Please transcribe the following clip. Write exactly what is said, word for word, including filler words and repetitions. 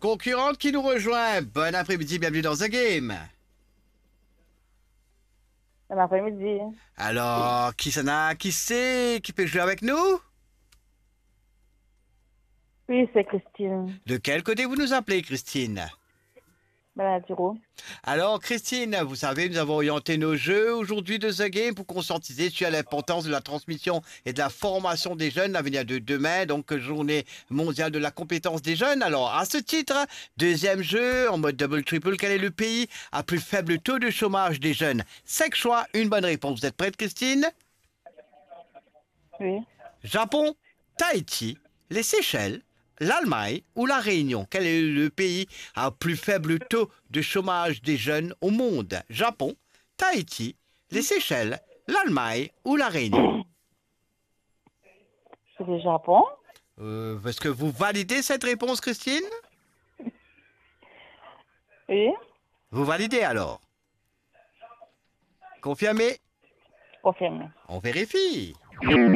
Konkiran ki nou rezwinn. Bon apremidi, bienveni dan The Game. Bon apremidi. Alor, kisannla, kisa ki pe zwe avek nou? Oui, c'est Christine. De quel côté vous nous appelez, Christine? Baladiro. Alors, Christine, vous savez, nous avons orienté nos jeux aujourd'hui de The Game pour conscientiser sur l'importance de la transmission et de la formation des jeunes, l'avenir de demain, donc journée mondiale de la compétence des jeunes. Alors, à ce titre, deuxième jeu, en mode double triple, quel est le pays à plus faible taux de chômage des jeunes? Cinq choix, une bonne réponse. Vous êtes prête, Christine? Oui. Japon, Tahiti, les Seychelles, l'Allemagne ou La Réunion? Quel est le pays à plus faible taux de chômage des jeunes au monde? Japon, Tahiti, les Seychelles, l'Allemagne ou La Réunion? C'est le Japon. Euh, est-ce que vous validez cette réponse, Christine? Oui. Vous validez alors? Confirmé? Confirmé. On vérifie.